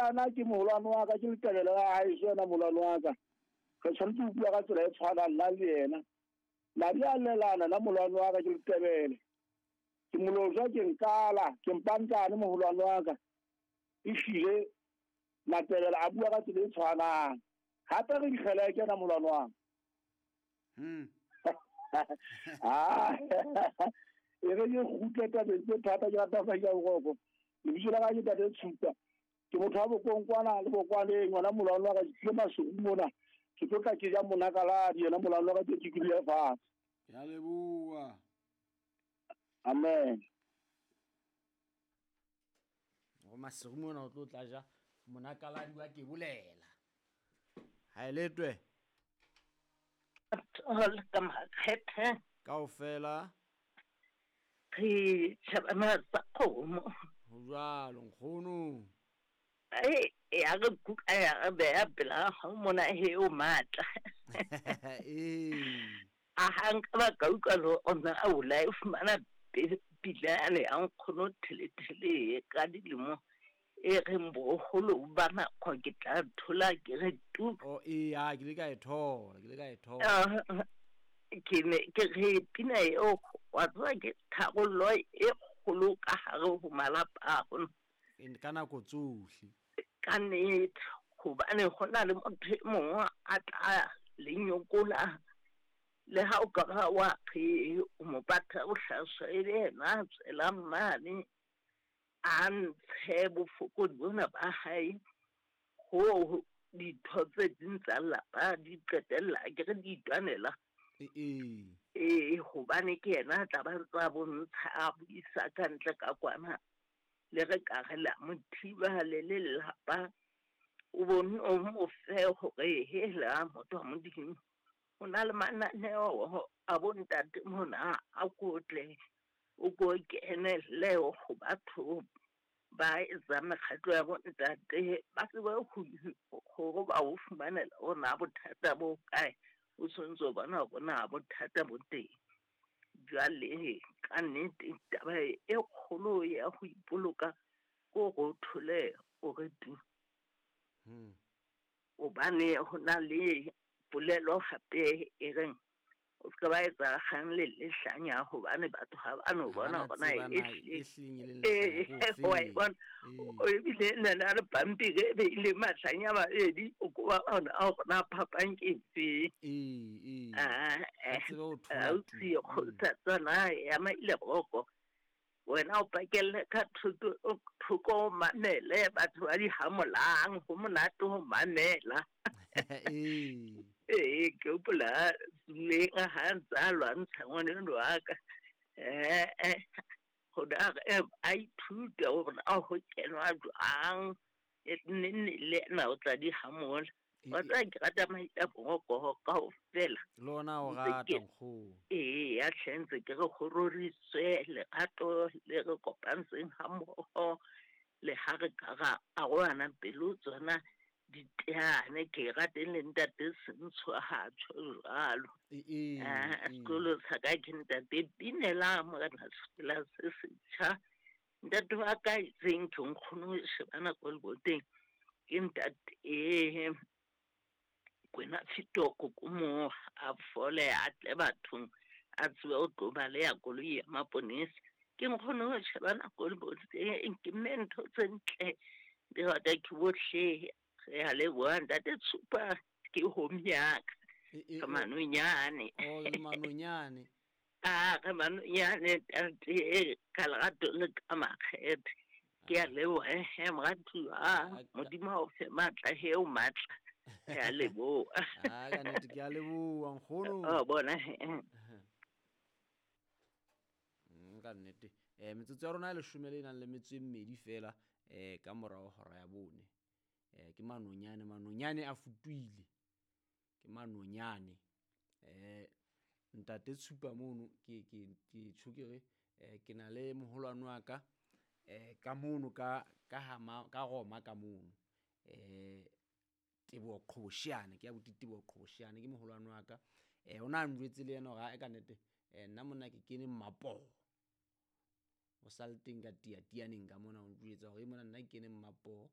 Molelana ke moholwane wa ka, ke Letebele la haeso yena moholwane wa ka. Re tshwanetse ho bua ka tsela e tshwanang nna le yena. Madi a lelana nna moholwane wa ka ke Letebele. Ke molojwa ke nkala, ke mpantlane moholwane wa ka. Ehlile Matebele a bua ka tsela e tshwanang. Hape re dikgeleke yena moholwane wa ka. Ah, e re ke kgutle tabeng tse thata ke rata fa ja boroko. Lebitso la ka ke Ntate Tshupa. Ke motho wa Bokonkwana le Bokwaneng, ngwana molwane wa ka, ke tlile Maseru mona. Ke tlo tla ke ja monakaladi, yena molwane wa ka ke ke dula fatshe. Ke a leboha. Amen. Go Maseru mona o tlo tla ja monakaladi wa ke bolela. Ha e letwe. Ka makgethe. Kaofela. Re tjhebana tsa kgomo. Ho jwalo nkgono. Ai, ya re kuka ya re beha pela hao mona he o matla. Ee. A ha nka ba ka utlwa le ona a o la e fumana pina yane ya nkgono Thelethele ka dilemo e reng boholo ba nako ke tla thola ke re tu. Oh, ee, ah, ke ile ka e thola, ke ile ka e thola. Ke ne ke re pina eo wa tseba ke tharollo e kgolo ka hare ho malapa a rona. Ka nako tsohle. Ka nnete, hobane ho na le motho e mongwe a tla le nyokola le ha o ka ba wa re o mo batla bohlaswa e be yena a tswelang mane a ntshe bofokodi bona ba hae ho ditho tse ding tsa lelapa di qetella ke re di itwanela. Ee. Ee, hobane ke yena a tla ba ntsa bontsha a buisa ka ntle ka kwana le re ka re la mo thiba le lelapa o bone o mo fe hore hela motho wa Modimo ho na le mananeo a bontate mona a kotle o ko kenelle ho batho ba etsang mekgatlo ya bontate ba tsebe hore ba o fumanela hore na bothata bo kae o tshwanetse o bona hore na bothata bo teng. Jwale ka nnete taba e kgolo ya ho ipoloka ke hore o thole o re tu. Hobane ho na le polelo hape e reng o se ka ba etsa kgang le lehlanya hobane batho ha ba no bona hore na e hlile wa e bona. Ebile le na le pampiri e beile mahlanya a mabedi o ko ba bona hore na phapang ke efe. Ausi kgothatsana ya maile boko wena o pakelle ka thoko o mamele batho ba di hamolang ho monate ho mamela. Ee, ke hopola Zuleng ha ntse a lwantsha ngwaneno wa ka. Hore a ithute hore na ho kenwa jwang nenne le ena o tla di hamola. Wa tseba ke rata maita boroko kaofela. Le ona o rata nkgono. Ee, ya hle ntse ke re ho roriswe lerato le re kopantseng ha mmoho le ha re ka ra arohana pelo tsona diteane ke rate le ntate Sentsho ha tjho jwalo. Sekolo sa ka ke ntate Binela morena sefela se setjha. Ntate wa ka itseng ke nkgono ho shebana ko leboteng ke ntate Kwena Fitoko ko mo a fole a tle bathong a tsebe ho tlo baleha koloi ya maponesa. Ke nkgono ho shebana ko leboteng ke mme ntho tse ntle di rata ke bohle. Re a leboha ntate Tshupa ke home ya ka. Re manonyane. Oh, le manonyane. Ah, re manonyane ntate ka lerato le ka makgethe. Ke a leboha he moratuwa. Modimo a o fe matla he o matla. Ke a leboha. Ah, ka nnete ke a leboha nkgono. Oh, bona he. Ka nnete. Metsotso ya rona e leshome le nang le metso e mmedi fela ka morao hora ya bone. Ke manonyane, manonyane a futuile. Ke manonyane. Ntate Tshupa mono ke ke ke tjho ke re ke na le moholwane wa ka ka mono ka ka hama ka Roma ka mono. Teboho Qhobosheane ke ya buti Teboho Qhobosheane ke moholwane wa ka. O na njwetse le yena hore ka nnete nna monna ke kene Mmapoho. O sa le teng ka tiatianeng ka mona o njwetsa hore mona nna ke kene Mmapoho.